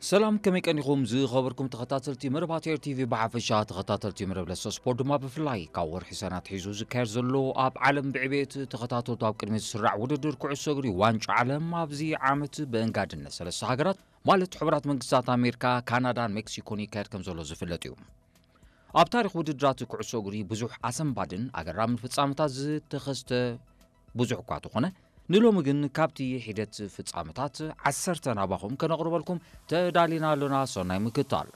ሰላም፣ ከመይ ቀኒኹም ዝኸበርኩም ተኸታተልቲ መደባት ኤር ቲቪ ብሓፈሻ፣ ተኸታተልቲ መደብ ለሰ ስፖርት ድማ ብፍላይ? ካብ ወርሒ ሰነ ኣትሒዙ ዝካየድ ዘሎ ኣብ ዓለም ብዕቤት ተኸታተልቱ ኣብ ቅድሚት ዝስራዕ ውድድር ኩዕሶ እግሪ ዋንጫ ዓለም ኣብዚ ዓመት ብእንጋድነት ሰለስተ ሃገራት ማለት ሕቡራት መንግስታት ኣሜሪካ፣ ካናዳን ሜክሲኮን ይካየድ ከም ዘሎ ዝፍለጥ እዩ። ኣብ ታሪኽ ውድድራት ኩዕሶ እግሪ ብዙሕ ኣሰንባድን ኣገራምን ፍጻመታት ዝተኸስተ ብዙሕ እኳ ተኾነ፣ ንሎሚ ግን ካብቲ ሒደት ፍጻመታት ዓሰርተ ናባኹም ከነቕርበልኩም ተዳሊና ኣሎና። ሰናይ ምክታል።